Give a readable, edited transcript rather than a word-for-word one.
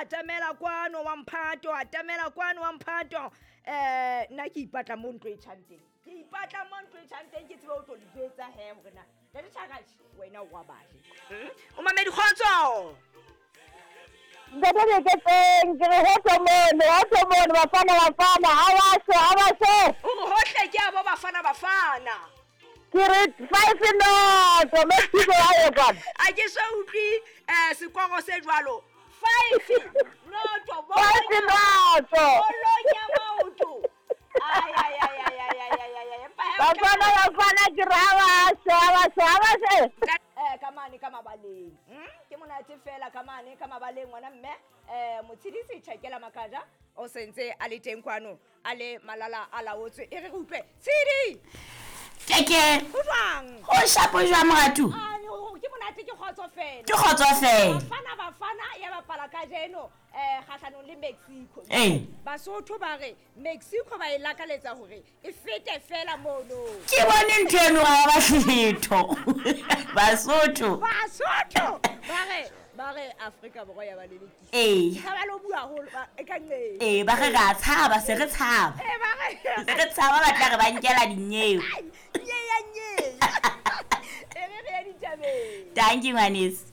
Atamela kwano wa mphato, atamela kwano wa mphato. Nna ke ipatla mo ntlo e tjhang teng. Ke ipatla mo ntlo e tjhang teng, ke tsebe ho tlo le jwetsa he hore na Ntate Chakaji wena o wa baje. O mamedi kgotso. Ntate Meketseng, ke re hohle mono, hohle mono, Bafana Bafana, ha ba shwe, ha ba shwe. O re hohle ke a bo Bafana Bafana. Ke re 5-0, Mexico ya ye kwana. A ke so utlwe sekoro se jwalo. 5-0, 5-0. Bolong ya maoto. Ai, ai, ai, ai, ai, ai, ai, ai, ai. Empa he o tla- Bafana Bafana, ke re ha ba shwe, ha ba shwe, ha ba shwe. Ka mane ka mabaleng. Ke monate fela ka mane ka mabaleng ngwana mme. Motshedisi Tjhakela Makaja o sentse a le teng kwano, a le malala a laotswe. E re re utlwe Tshedi. Keke. Ho jwang? Ho shapo jwang moratu? Ah, no, ke monate, ke kgotso fela. Ke kgotso fela. Bafana Bafana ya bapala kajeno kgahlanong le Mexico. Ee. Basotho ba re Mexico ba e lakaletsa hore e fete fela mono. Ke bone ntho eno ga ba letho. Basotho. Basotho ba re, ba re Afrika Borwa ya ba lelekisa. Ee. Ha ba lo bua haholo, ba e ka nqeng. Ee, ba re ra tshaba, se re tshaba. Ee, ba re. Se re tshaba, ba tla re ba nkela dinnyeo. Ai, nye ya nye. E re re ya ditabeng. Thank you, ngwaneso.